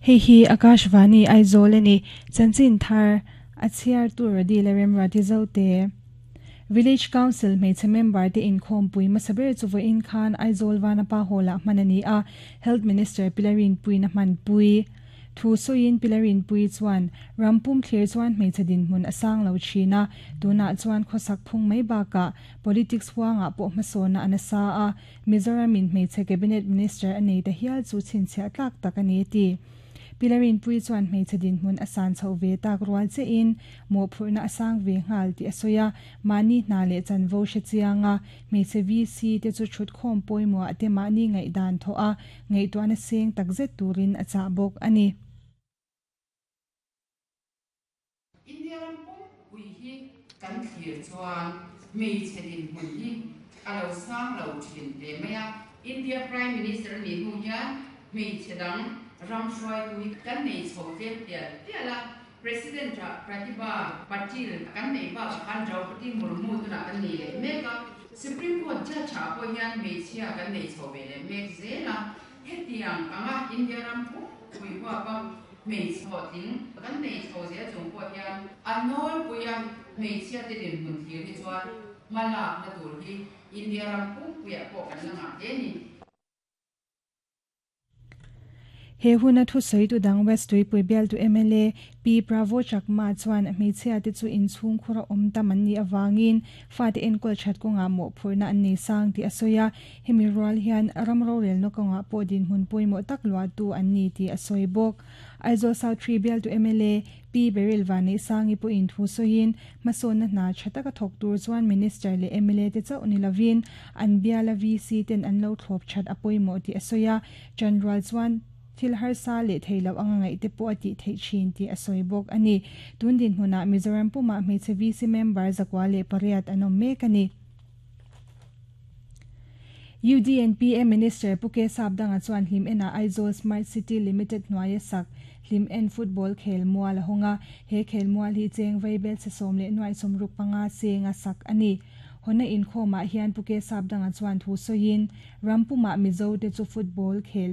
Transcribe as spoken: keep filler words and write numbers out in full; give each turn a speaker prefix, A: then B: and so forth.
A: Hei hi Akashvani Aizawl a ni. Chanchin thar a chhiar tur Radila Remruati Zote. Village Council hmeichhe member te inkhawmpui hmasa ber chu vawiin khan Aizawl Vanapa Hall-ah hman a ni a, Health Minister Pilarinpuiin a hmanpui. Thu sawiin Pilarinpui chuan rampum thlir chuan hmeichhe dinhmun a sang lo thin a, tunah chuan khawsak phung mai bakah politics huangah pawh hmasawna a nasa a, Mizoramin hmeichhe Cabinet Minister a nei ta hial chu chhinchhiah tlak tak a ni a ti. Pilarinpui chuan hmeichhe dinhmun a san chhoh ve tak rual chein mawhphurhna a sang ve nghal tih a sawi a, mahni hna leh chanvo hre chiang a, hmeichhe V C te chu thut khawm pawimawh te mahni ngaihdan thawh a, ngaihtuahna seng takzet turin a chah bawk a ni.
B: India ram pumpui hi kan thlir chuan hmeichhe dinhmun hi a lo sang lo thin hle mai a. India Prime Minister a nih hnu hian hmeichhe dang ram hruaitu hi kan nei chho tlem tial tial a. President ah Pratibha Patil kan neih bakah khan Draupadi Murmu tunah kan nei leh mek a. Supreme Court Judge ah pawh hian hmeichhia kan nei chho ve leh mek zel a. Hetiang anga India ram pumpui huapa hmeichhe hlawhtling kan nei chho zel chung pawh hian a nawlpuia hmeichhia te dinhmun thlir hi chuan hma lakna tur hi India ram pumpuiah pawh kan la ngah hle a ni.
A: He huna thusawi tu dang West Tuipui bialtu M L A Pi Pravo Chakma chuan hmeichhia te chu inchhung khura awm tam an nih avangin fate enkawl that kawngah mawhphurhna an nei sang tih a sawi a, hemi rual hian ram rorelna kawngah pawh dinhmun pawimawh tak luahtu an ni tih a sawi bawk. Aizawl South Three bialtu M L A Pi Beryl Vanneihsangi pawhin thu sawiin hmasawnna hna tha taka thawk tur chuan Minister leh M L A te chauh ni lovin an biala V C ten an lo thlawp that a pawimawh tih a sawi a, chanrual chuan thil harsa leh thei lo anga ngaih te pawh a tih theih thin tih a sawi bawk a ni. Tun dinhmunah Mizoram pumah hmeichhe V C member zakua leh pariat an awm mek a ni. U D N P A Minister Pu K Sapdanga chuan Hlim Enah Aizawl Smart City Limited hnuaia sak Hlim En Football khel mual a hawng a, he khel mual hi cheng vaibel che sawm leh nuai sawmruk panga senga sak a ni. Hawna inkhawmah hian Pu K Sapdanga chuan thu sawiin rampumah Mizo te chu football khel